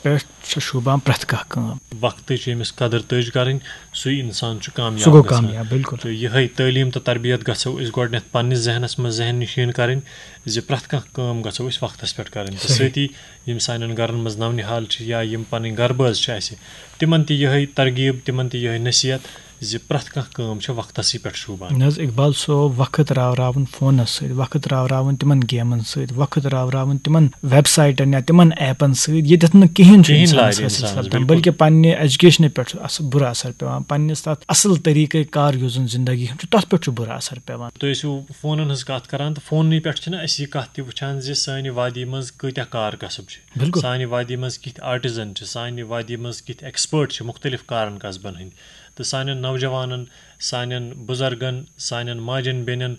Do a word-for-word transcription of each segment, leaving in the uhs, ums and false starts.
پٮ۪ٹھ چھِ شوٗبان پرٛٮ۪تھ کانٛہہ کٲم۔ وقتٕچ ییٚمِس قدٕر تٔج کرٕنۍ، سُے انسان چھُ کامیاب سُہ گوٚو گژھان۔ کامیاب، بِلکُل۔ تہٕ یِہے تعلیٖم تہٕ تربیت گژھو أسۍ گۄڈٕنٮ۪تھ پننِس ذہنس منٛز ذہن نشین کرٕنۍ زِ پرٛٮ۪تھ کانٛہہ کٲم گژھو أسۍ وقتس پٮ۪ٹھ کرٕنۍ۔ تہٕ صحیح۔ سۭتی یِم سانٮ۪ن گرن منٛز نونِہال چھِ یا یِم پنٕنۍ گرٕ بٲژ چھِ اَسہِ، تِمن تہِ یِہے ترغیب، تِمن تہِ یِہے نصیحت زِ پرٛٮ۪تھ کانٛہہ کٲم چھِ وقتسٕے پٮ۪ٹھ شوٗبان۔ نہ حظ اقبال صٲب، وقت راوراوُن فونس سۭتۍ، وقت راوراوُن تِمن گیمن سۭتۍ، وقت راوراوُن تِمن ویب سایٹن یا تِمن ایپن سۭتۍ، ییٚتٮ۪تھ نہٕ کِہیٖنۍ چھُ کِہیٖنۍ اِنسانس لارِ حٲصِل اِنسانس، سپدان، بِلکُل۔ بلکہِ پننہِ ایجوکیشنہِ پٮ۪ٹھ چھُ اثر، بُرٕ اثر پٮ۪وان، پننِس تتھ اصل طریٖقے کار یُس زن زندگی ہُنٛد چھُ، تتھ پٮ۪ٹھ چھُ بُرٕ اثر پٮ۪وان۔ تُہۍ ٲسِو فونن ہٕنٛز کتھ کران، تہٕ فوننٕے پٮ۪ٹھ چھِنہ أسۍ یہِ کتھ تہِ وٕچھان زِ سانہِ وادی منٛز کۭتیاہ کار کسب چھِ، بِلکُل۔ سانہِ وادی منٛز کِتھۍ آرٹزن چھِ، سانہِ وادی منٛز کِتھۍ ایکسپٲرٹ چھِ مُختٔلِف کارن کسبن ہٕنٛدۍ، تہٕ سانٮ۪ن نوجوانن، سانٮ۪ن بُزرگن، سانٮ۪ن ماجن بیٚنٮ۪ن،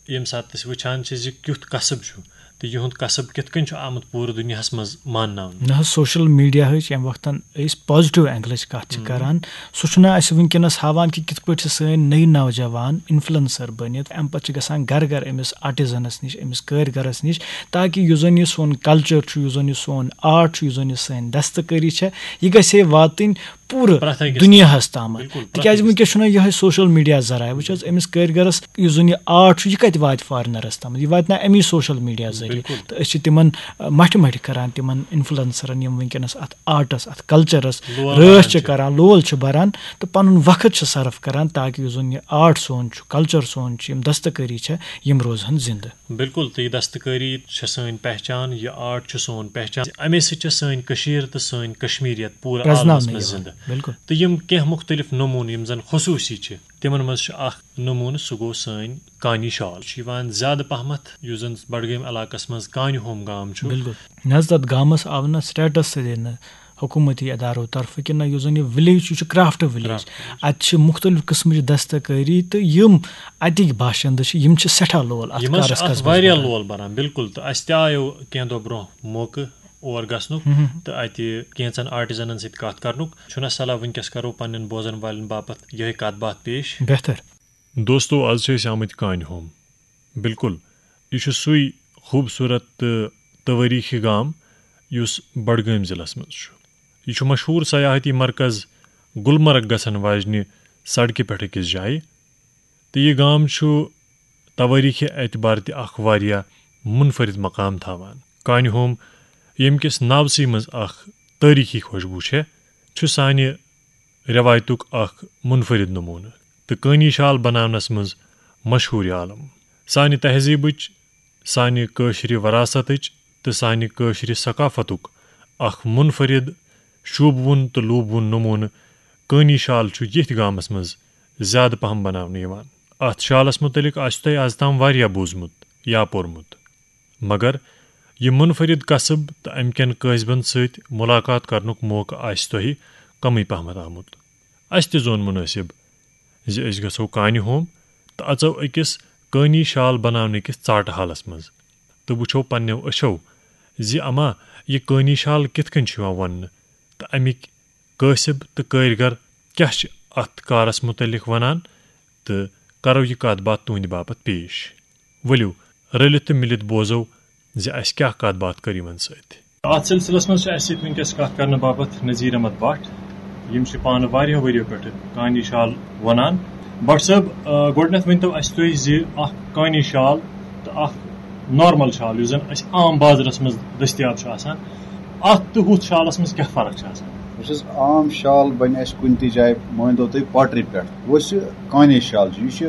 ییٚمہِ ساتہٕ أسۍ وٕچھان چھِ زِ کیُتھ کسب چھُ تہٕ یِہُنٛد کسب کِتھ کٔنۍ چھُ آمُت پوٗرٕ دُنیاہس منٛز مانناونہٕ۔ نہ حظ، سوشل میڈیاہٕچ ییٚمہِ وقتن أسۍ پازیٹیو اینگلٕچ کتھ چھِ کران، سُہ چھُنہٕ اَسہِ وٕنکیٚنس ہاوان کہِ کِتھ پٲٹھۍ چھِ سٲنۍ نٔوۍ نوجوان انفلوئنسر بٔنِتھ، امہِ پتہٕ چھِ گژھان گرٕ گرٕ أمِس آرٹزنس نِش، أمِس کٲرۍ گرس نِش، تاکہِ یُس زن یہِ سون کلچر چھُ، یُس زن یہِ سون آرٹ چھُ، یُس زن یہِ سٲنۍ دستکٲری چھےٚ، یہِ گژھِ ہے واتٕنۍ پوٗرٕ پرٛٮ۪تھ أکِس دُنیاہس تامَتھ۔ بِلکُل، پرٛٮ۪تھ تِکیازِ أکِس۔ وٕنکیٚس چھُنہ یِہوٚے سوشل میڈیا ذرایع، وٕچھ حظ، أمِس کٲرۍ گرس یُس زن یہِ آرٹ چھُ، یہِ کتہِ واتہِ فارنرس تامَتھ؟ یہِ واتہِ نہ امی سوشل میڈیا ذٔریعہٕ۔ بِلکُل۔ تہٕ أسۍ چھِ تِمن، آ، مٹھِ مٹھِ کران تِمن انفلوئنسرن، یِم وٕنکیٚنس اتھ آرٹس، اتھ کلچرس لول رٲچھ بَران چھِ چھِ۔ کران، لول چھِ بران، تہٕ پنُن وقت چھِ صرف کران تاکہِ یُس زن یہِ آرٹ سون چھُ، کلچر سون چھُ، یِم دستکٲری چھےٚ، یِم روزہن زندٕ۔ بِلکُل، تہٕ یہِ دستکٲری چھےٚ سٲنۍ پہچان، یہِ آرٹ چھُ سون پہچان۔ اَمے سۭتۍ چھےٚ سٲنۍ کٔشیٖر تہٕ سٲنۍ کشمیریت پوٗرٕ پرٛزناونہٕ عالمس منٛز یِوان۔ زندٕ۔ بِلکُل۔ تہٕ یِم کینٛہہ مُختٔلِف نموٗنہٕ یِم زن خصوٗصی چھِ، تِمن منٛز چھُ اکھ نموٗنہٕ، سُہ گوٚو سٲنۍ کانی شال۔ چھُ یِوان زیادٕ پہمتھ، یُس زن بڈگٲمۍ علاقس منٛز کانہِ ہوم گام چھُ۔ بِلکُل۔ نہ حظ، تَتھ گامَس آو نہٕ status سۭتۍ دِنہٕ حکوٗمتی ادارو طرفہٕ کہِ نہ، یُس زَن یہِ وِلیج چھُ، یہِ چھُ کرٛافٹ وِلیج۔ اَتہِ چھِ مُختٔلِف قٕسمٕچ دستکٲری، تہٕ یِم اَتِکۍ باشندٕ چھِ، یِم چھِ سٮ۪ٹھاہ لول اَتھ یِمن چھِ کارَس اَتھ قصبَس واریاہ منٛز۔ لول بَران، بِلکُل۔ تہٕ اَسہِ تہِ آیو کینٛہہ دۄہ برونٛہہ موقعہٕ اور گژھنُک، تہٕ اَتہِ کینٛژن آرٹزنن سۭتۍ کَتھ کَرنُک۔ چھُنہ صلاح وٕنکیٚس کَرو پننٮ۪ن بوزن والٮ۪ن باپتھ یِہوٚے کَتھ باتھ پیش۔ بہتر۔ دوستو، آز چھِ أسۍ آمٕتۍ کانہِ ہوم۔ بِلکُل، یہِ چھُ سُے خوٗبصوٗرت تہٕ توٲریٖخی گام یُس بڈگٲمۍ ضلعس منٛز چھُ۔ یہِ چھُ مشہوٗر سیاحتی مرکز گلمرگ گژھن واجنہِ سڑکہِ پٮ۪ٹھ أکِس جایہِ، تہٕ یہِ گام چھُ توٲریٖخی اعتبار تہِ اکھ واریاہ منفرد مقام تھاوان۔ کانہِ ہوم، ییٚمہِ کِس ناوسٕے منٛز اکھ تٲریٖخی خوشبوٗ چھےٚ، چھُ سانہِ رٮ۪وایتُک اکھ منفرد نموٗنہٕ تہٕ کٲنی شال بناونس منٛز مشہوٗر عالم۔ سانہِ تہذیٖبٕچ، سانہِ کٲشرِ وراثتٕچ تہٕ سانہِ کٲشرِ ثقافتُک اکھ منفرد، شوٗبوُن تہٕ لوٗبوُن نموٗنہٕ کٲنی شال چھُ ییٚتھۍ گامس منٛز زیادٕ پہم بناونہٕ یِوان۔ اتھ شالس مُتعلق آسہِ تۄہہِ از تام واریاہ بوٗزمُت یا پوٚرمُت، مگر یہِ منفرد کسب تہٕ امہِ کٮ۪ن کٲسبن سۭتۍ ملاقات کرنُک موقعہٕ آسہِ تۄہہِ کمٕے پہمتھ آمُت۔ اسہِ تہِ زون منٲسب زِ أسۍ گژھو کانہِ ہوم تہٕ اژو أکِس کٲنی شال بناونہٕ کِس ژاٹہٕ حالس منٛز تہٕ وٕچھو پننٮ۪و أچھو زِ اما، یہِ کٲنی شال کِتھ کٔنۍ چھُ یِوان ووننہٕ تہٕ امِکۍ کٲسب تہٕ کٲرۍ گر کیاہ چھِ اتھ کارس مُتعلق ونان، تہٕ کرو یہِ کتھ باتھ تُہنٛدِ باپتھ پیش۔ ؤلِو، رٔلِتھ تہٕ مِلِتھ بوزو زِ اسہِ کیاہ کتھ باتھ کٔر یِمن سۭتۍ۔ اتھ سلسلس منٛز چھِ اسہِ سۭتۍ وٕنکیٚس کتھ کرنہٕ باپتھ نذیر احمد بٹ۔ یِم چھِ پانہٕ واریاہو ؤرِیو پٮ۪ٹھٕ کانی شال وونان۔ بٹ صٲب، آ، گۄڈٕنیتھ ؤنۍتو اسہِ تُہۍ زِ اکھ کانی شال تہٕ اکھ نارمل شال، یُس زن اسہِ عام بازرس منٛز دٔستیاب چھُ آسان، اتھ تہٕ ہُتھ شالس منٛز کیاہ فرق چھِ آسان؟ وٕچھ حظ، عام شال بنہِ اسہِ کُنہِ تہِ جایہِ، مٲنۍ تو تُہۍ پاٹری پٮ۪ٹھ۔ وۄنۍ یُس یہِ کانی شال چھُ، یہِ چھُ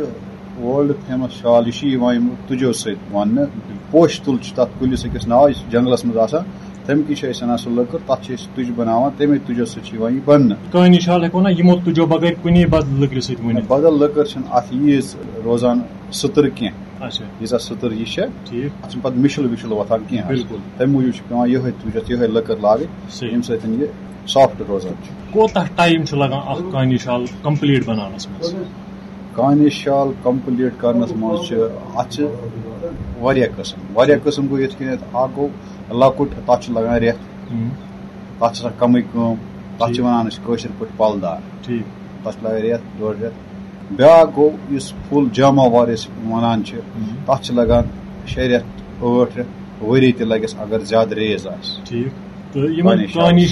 world famous شال، یہِ چھُ یِوان یِمو تُجو سۭتۍ ووننہٕ۔ پوشہِ تُل چھُ تتھ کُلِس أکِس ناو، یہِ چھُ جنگلس منٛز آسان، تمہِ کِنۍ چھِ أسۍ انان سُہ لٔکٕر، تتھ چھِ أسۍ تُج بناوان، تمے تُجو سۭتۍ چھُ یِوان یہِ بننہٕ۔ کانی شال ہٮ۪کو نا یِمو تُجو بغٲر کُنی بدل لٔکرِ سۭتۍ ووٗنِتھ؟ بدل لٔکٕر چھنہٕ اتھ ییٖژ روزان سٕتٕر کینٛہہ۔ اچھا۔ ییٖژاہ سٕتٕر یہِ چھےٚ، ٹھیٖک۔ اتھ چھُنہٕ پتہٕ مِشُل وِشُل وۄتھان کینٛہہ۔ بِلکُل۔ تمہِ موٗجوٗب چھُ پٮ۪وان یِہوٚے تُج، یَتھ یِہوٚے لٔکٕر لاگٕنۍ، صحیح۔ ییٚمہِ سۭتۍ یہِ soft روزان چھُ۔ کوتاہ ٹایم چھُ لگان اکھ کانی شال complete بناونس منٛز؟ کانی شال complete کرنس منٛز چھِ، اتھ چھِ واریاہ قٕسم۔ واریاہ قٕسم گوٚو یِتھ کٔنٮ۪تھ، اکھ گوٚو لۄکُٹ، تتھ چھُ لگان رٮ۪تھ۔ ہُم۔ تتھ چھِ آسان کمٕے کٲم، تتھ چھِ ٹھیٖک۔ ونان أسۍ کٲشِر پٲٹھۍ پلہٕ دار۔ ٹھیٖک۔ تتھ چھِ لگان رٮ۪تھ، ڈۄڈ رٮ۪تھ۔ بیٛاکھ گوٚو یُس full جاماوار أسۍ ونان چھِ، ہُم۔ تتھ چھِ لگان شےٚ رٮ۪تھ، ٲٹھ رٮ۪تھ، ؤری تہِ لگٮ۪س اگر زیادٕ ریز آسہِ۔ ٹھیٖک۔ تہٕ یِمن کانی شالس۔ کانی